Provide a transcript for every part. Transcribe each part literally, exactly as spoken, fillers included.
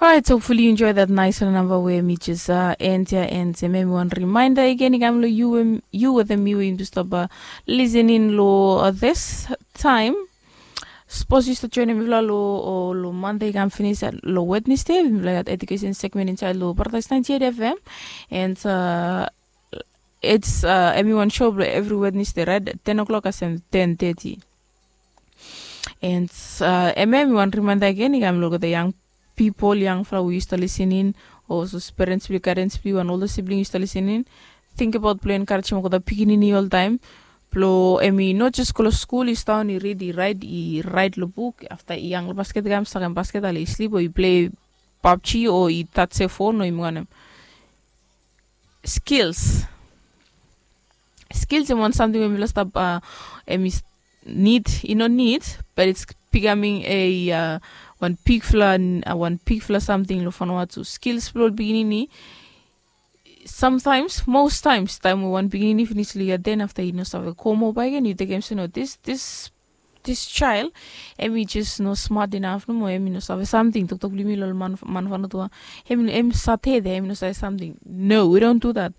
Alright, hopefully you enjoy that nice namba we mi jes uh, end ya, and uh, maybe one reminder again i kam lo you, um, you with me we yumi stop uh, listening lo uh, this time. Suppose you start joining me lo, lo, lo Monday i kam finish lo Wednesday, we like education segment inside lo Paradise ninety-eight F M. And uh, it's uh, everyone show every Wednesday, right? At ten o'clock as in ten thirty. And uh, eme mi wan reminder again i kam lo the young people, young fla we used to listening, also parents bli, guardians bli, wan older sibling used to listening. Think about blo encouraging ko the pikinini all time. Blo emi not just go lo school, is down i read, i write, i write lo book. After i young basket game, second basket, ali sleep or i play PUBG or i touch a phone or i mwanem. Skills. Skills em wan samting we mi last up uh, em is need, you know, need, but it's becoming a uh, one big fla uh, one big fla something lo fanoa tu. Skills blo beginning ni. Sometimes, most times, time we wan beginning finish li ya, then after you know save komo by again, you take em say no, this this this child, em i just no smart enough no more, em i no save something. Toktok bli mi lo man man fanoa tu, em em sate de, em i no save something. No, we don't do that.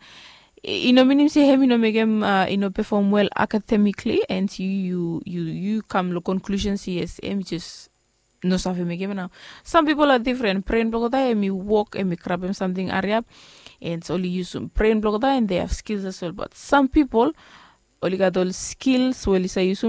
I no minim se em i no mekem uh, i no perform well academically, and you you you you come lo conclusion se yes, em i just no save mekem nao. Some people are different. Brain blo gota em i work, em i grab em something ariap, and oli yusum brain blo gota, and they have skills as well. But some people oli gat ol skills we oli sa yusum